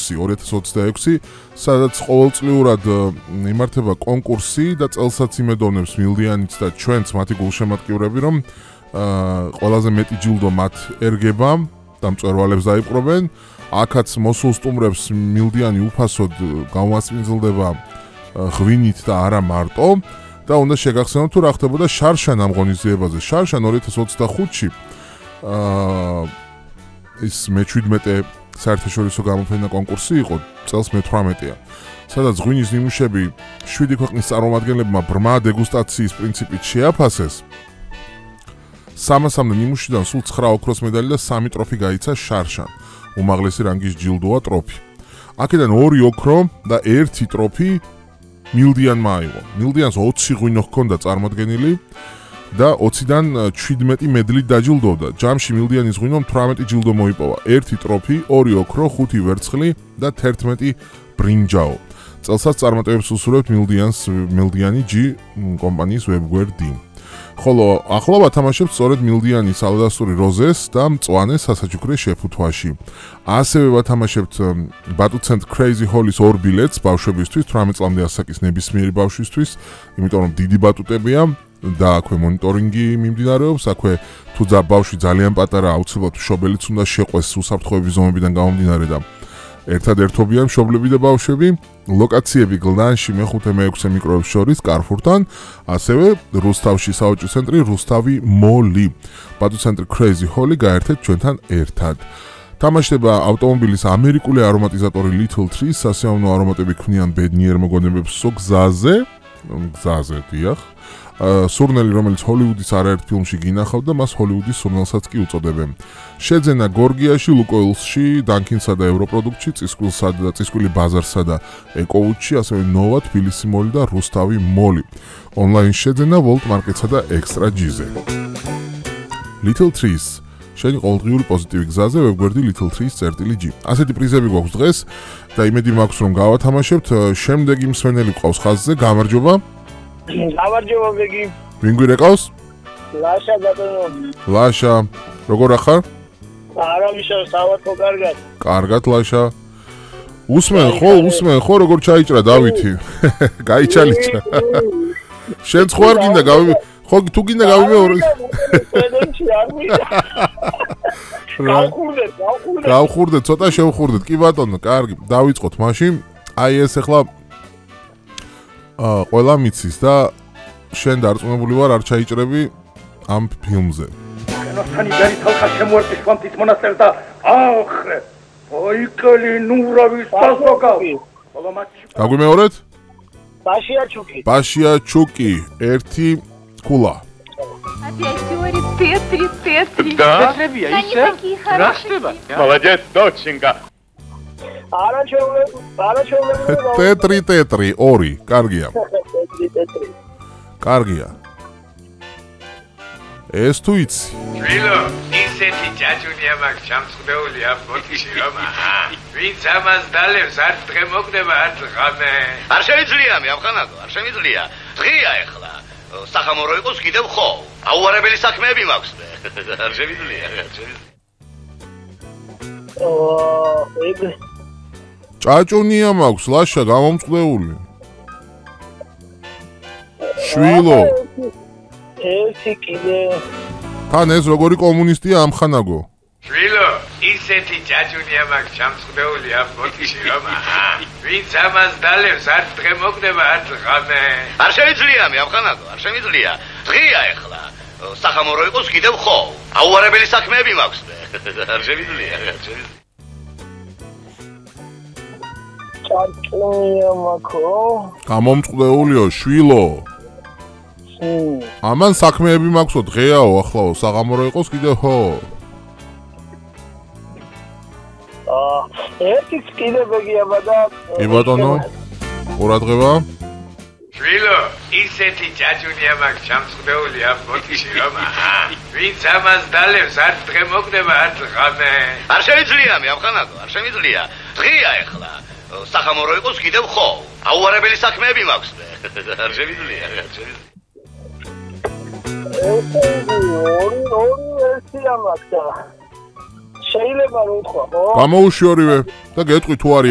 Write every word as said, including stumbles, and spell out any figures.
ექვსი ორი ათას ოცდაექვსი, სადაც ყოველწლიურად იმართება კონკურსი და წელსაც იმედოვნებს მილდიანიც და ჩვენც მათი გულშემატკივრები, რომ ყველაზე მეტი ჯილდო მათ ერგება და მწვერვალებს დაიპყრობენ. აქაც მოსულ სტუმრებს მილდიანი უფასოდ გამოსპინძლდება ღვინით და არა მარტო და უნდა შეგახსენოთ თუ რა ხდებოდა შარშან ამ ღონისძიებაზე. შარშან ორი ათას ოცდახუთში აა ის მეჩვიდმეტე საერთაშორისო გამოფენა კონკურსი იყო, წელს მეთვრამეტეა. სადაც ღვინის ნიმუშები შვიდი ქვეყნის წარმომადგენლებმა ბრმა დეგუსტაციის პრინციპით შეაფასეს. სამასამდე ნიმუშიდან სულ ცხრა ოქროს медаლი და სამი ტროფი გაიცა შარშან. უმაღლესი რანგის ჯილდოა ტროფი. აქედან ორი ოქრო და ერთი ტროფი მილდიანმა აიღო. მილდიანს ოცი ღვინო ჰქონდა წარმოდგენილი და ოციდან შვიდმეტი მედლით დაჯილდოვდა. ჯამში მილდიანის ღვინომ თვრამეტი ჯილდო მოიპოვა. ერთი ტროფი, ორი ოქრო, ხუთი ვერცხლი და თერთმეტი ბრინჯაო. წელსაც წარმატებებს უსურვებთ მილდიანს მილდიანი ჯი კომპანიის ვებგვერ დი. ხოლო ახლა ვათამაშებთ სწორედ მილდიანის ალდასური როზეს და მწვანე სასაჩუქრე შეფუთვაში. ასევე ვათამაშებთ ბატუცენტ Crazy Holly-ს ორ ბილეთს ბავშვებისთვის, თვრამეტ წლამდე ასაკის ნებისმიერი ბავშვისთვის, იმიტომ რომ დიდი ბატუტებია და აქვე მონიტორინგი მიმდინარეობს, აქვე თუ ბავშვი ძალიან პატარა, აუცილებლად მშობელიც უნდა შეყვეს უსაფრთხოების ზომებიდან გამომდინარე და ერთადერთობიან მშობლები და ბავშვები. ლოკაციები გლდანში მეხუთე მეექვსე მიკროებს შორის კარფურთან, ასევე რუსთავში საოჯო ცენტრი რუსთავი მოლი. ბატუცენტრი Crazy Holly გაერთეთ ჩვენთან ერთად. თამაშდება ავტომობილის ამერიკული არომატიზატორი Little Trees, სასიამოვნო არომატები ქმნიან ბედნიერ მოგონებებს გზაზე, გზაზე დიახ. სურნელი, რომელიც ჰოლივუდის არაერთ ფილმში გინახავდა, მას ჰოლივუდის სურნელსაც კი უწოდებენ. შეძენა გორგიაში, ლუკოილსში, დანკინსა და ევროპროდუქტში, წისკვილსა და წისკვილი ბაზარსა და ეკოუთში, ასევე ნოვა, თბილისი მოლი და რუსთავი მოლი. ონლაინ შეძენა ვოლტ მარკეტსა და ექსტრა ჯიზე. Little Trees. შენი ყოველდღიური პოზიტივი გზაზე ვებგვერდი Little Trees წერტილი ჯი. ასეთი პრიზები გვაქვს დღეს და იმედი მაქვს რომ გავათამაშებთ. შემდეგი მსმენელი გვყავს ხაზზე, გამარჯობა. გამარჯობა ბეგი. ვინ გვირეკავს? ლაშა ბატონო. ლაშა, როგორ ახარ? არავის საავადმყოფო კარგად. კარგად ლაშა. უსმენ ხო, უსმენ ხო, როგორ ჩაიჭრა დავითი? გაიჩალიჭა. შენ ხო არ გინდა გავი ხო თუ გინდა გავიმეორე. გავხურდეთ, გავხურდეთ. გავხურდეთ, ცოტა შევხურდეთ. კი ბატონო, კარგი, დავიწყოთ მაშინ. აი ეს ახლა აა ყველა მიცის და შენ დარწმუნებული ვარ არ ჩაიჭრები ამ ფილმზე. კენოსანი ბერი თალხა შემოერტი შვანთის მონასტერს და ახრე. ოიკელი ნურავის დასოკავი. ხოლო მათში გაგვიმეორეთ? ბაშია ჩუკი. ბაშია ჩუკი, ერთი კულა. Опять говорит Т-три, Т-три. Петребия, ისე? რა ხდება? Молодец, доченька. არა ჩეულები, არა ჩეულები. Т-три, Т-три, ორი, კარგია. კარგია. ეს თუ იცი. ვილო, ისეთი ჯაჯუნია მაქვს ჩამწყვდეული ამ ბოთში რომ აჰა. ვინც ამას დალევს, არც დღე მოგდება, არც ღამე. არ შეიძლება მე ამხანაგო, არ შემიძლია. დღეა ეხლა. სახამორო იყოს კიდევ ხო? აუარებელი საქმეები მაქვს მე. არ შემიძლია, არ შემიძლია. აა, ეგ ჭაჭუნია მაქვს, ლაშა გამომწყდეული. შვილო. ერთი კიდე. თან ეს როგორი კომუნისტია ამხანაგო? ვილო, ისეთი ჯაჯუნია მაქვს ჩამწყვდეული ამ ბოთში რომ აჰა. ვინც ამას დალევს, არც დღე მოგდება, არც ღამე. არ შეიძლება მე ამხანაგო, არ შემიძლია. დღეა ეხლა. სახამორო იყოს კიდევ ხო? აუარებელი საქმეები მაქვს მე. არ შემიძლია, არ შემიძლია. ჭაჭუნია მაქო. გამომწყდეულიო, შვილო. ამან საქმეები მაქვსო, დღეაო, ახლაო, საღამორო იყოს კიდევ ხო? აა, ერთიც კიდე ბეგიაბა და კი ბატონო. ყურადღება. ვილო, ისეთი ჯაჯუნია მაქვს ჩამწყვდეული ამ ბოთში რომ აჰა. ვინც ამას დალევს, არც დღე მოგდება, არც ღამე. არ შეიძლება მე ამხანაგო, არ შემიძლია. დღეა ეხლა. სახამორო იყოს კიდევ ხო? აუარებელი საქმეები მაქვს მე. არ შემიძლია, არ შემიძლია. ორი ორი ვერსია მაქვს. შეიძლება რომ ვთქვა, ხო? გამოუშვი ორივე და გეტყვი თუ არის